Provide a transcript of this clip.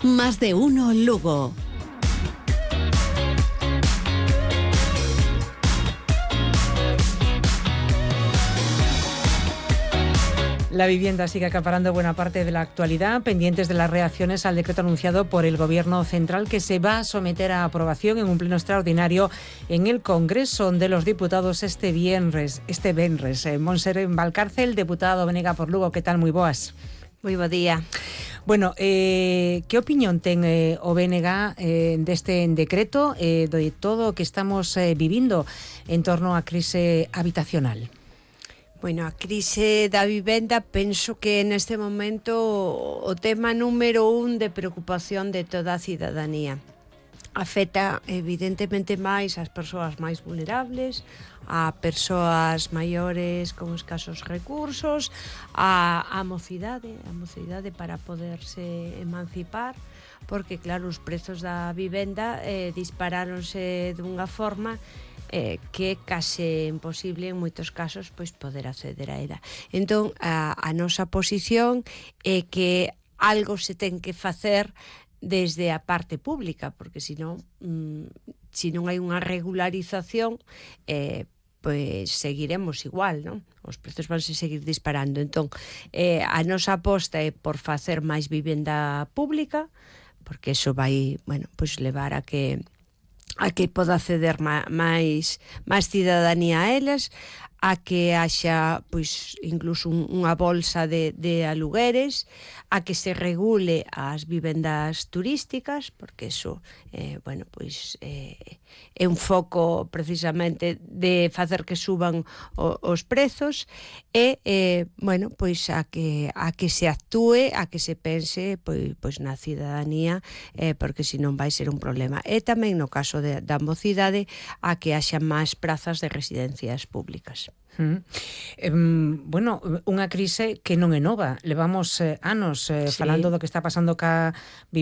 Más de uno Lugo. La vivienda sigue acaparando buena parte de la actualidad, pendientes de las reacciones al decreto anunciado por el Gobierno central que se va a someter a aprobación en un pleno extraordinario en el Congreso de los Diputados este venres. Montserrat Valcárcel, deputado Venega por Lugo, ¿qué tal? Moi boas. Moi bo día. Bueno, que opinión ten o BNG deste decreto de todo o que estamos vivindo en torno á crise habitacional? Bueno, a crise da vivenda penso que neste momento o tema número 1 de preocupación de toda a cidadanía. Afecta evidentemente máis ás persoas máis vulnerables, a persoas maiores con escasos recursos, a mocidade para poderse emancipar, porque claro, os prezos da vivenda disparáronse dunha forma que é case imposible en moitos casos pois poder acceder a ela. Entón, a nosa posición é que algo se ten que facer desde a parte pública, porque senón, se non hai unha regularización, pois seguiremos igual, non? Os prezos vanse seguir disparando. Entón, a nosa aposta é por facer máis vivenda pública, porque iso vai, bueno, pois levar a que poda acceder máis cidadanía a elas, a que haxa pois incluso unha bolsa de alugueres, a que se regule as vivendas turísticas, porque iso bueno, pois é un foco precisamente de facer que suban os prezos e bueno, pois a que se actúe, a que se pense pois na cidadanía, porque senón vai ser un problema. E tamén no caso da mocidade, a que haxa máis prazas de residencias públicas. Bueno, unha crise que non é nova. Levamos anos falando do que está pasando ca